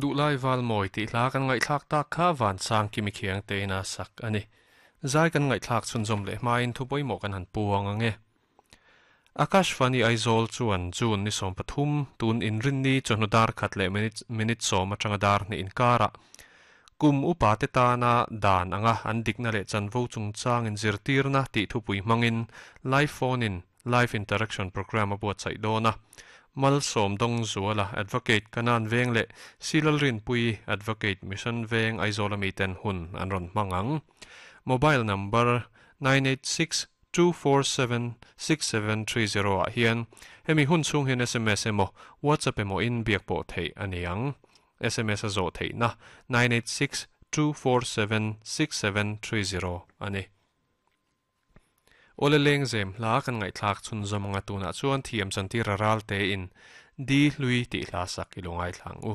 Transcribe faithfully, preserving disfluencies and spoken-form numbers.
Duhlai val mawi tih hla kan ngaihthlak tak kha van sang kimi khiang te ina sak ani. Zai kan ngaihthlak chhunzawm leh hmain thu pawimawh kan han puang ange. Akashvani Aizawl chuan June ni sawm pathum tun inrinni chawhnu dar khat leh minute minute sawm atanga dar hnih inkara kum upa te tana dan anga an dikna leh chanvo chungchang in zirtirna tih thupui hmangin live phone in live interaction program a buatsaih dawn a. Malsawm Dawng Zuala Advocate Kanan Veng leh Silal Rinpui Advocate Mission Veng Aizawl ami ten hun an rawn hmang ang. Mobile number nine eight six two four seven six seven three zero ah hian hemi hun chhung hian sms emaw WhatsApp emaw in biak pawh theih a ni ang. Sms a zawh theihna nine eight six two four seven six seven three zero a ni. Awle lengzem hla kan ngaihthlak chhunzawm anga tunah chuan thiam chantir a ral te in di hlui tih hla sak i lo ngaithla ang u.